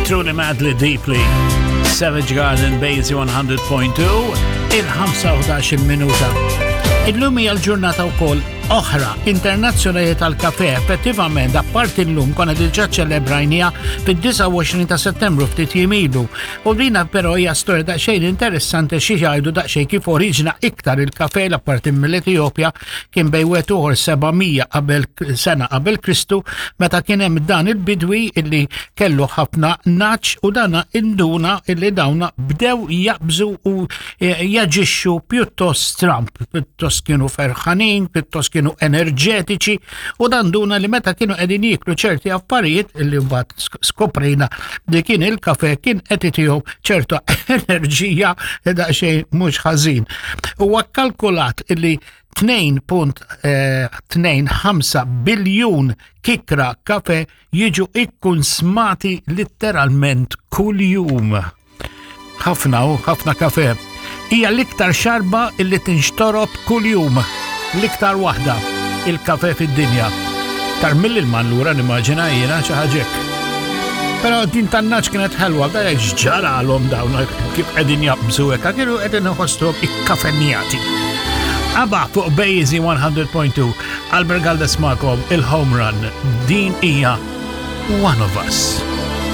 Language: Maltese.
Truly Madly Deeply, Savage Garden Basie 100.2, il-5 minuta. Illum hija l-ġurnata wkoll oħra internazzjonali tal-kafe. Effettivament, apparti llum konna diġà ċelebrajnija fid-29 ta' Settembru ftit jiem ilu. U dina però hija storja daqsxejn interessanti xi jgħidu daqsxejn kif oriġina iktar il-kafe l-apparti mill-Etjopja kien bejn wieħed u ieħor 700 qabel sena qabel Kristu meta kien hemm dan il-bidwi illi kellu ħafna naċ u dana induna illi dawna bdew jaqbżu u e, jaġixxu pjuttost stramp, pjuttost kienu ferħanin, pjuttost kienu enerġetiċi u dan duna li meta kienu qegħdin jieklu ċerti affarijiet illi mbagħad skoprejna li kien il-kafe kien qed itihom ċerta enerġija daqsxejn mhux ħażin. Huwa kkalkulat illi 2.25 eh, biljun kikra kafe jiġu ikkunsmati litteralment kuljum. Ħafna u ħafna kafe. Hija l-iktar xarba illi tinxtorob kuljum. L-iktar waħda il-kafe fid-dinja. Tar mill-ilman lura nimmaġina jiena xi ħaġa Però din tan-naċ kienet ħelwa, da ġaralhom dawn kif qegħdin jaqbżu hekk, kienu qegħdin iħossuhom ikkafenjati. Aba fuq Bejzi 100.2, Albert Galdes magħkom il-home run. Din hija One of Us.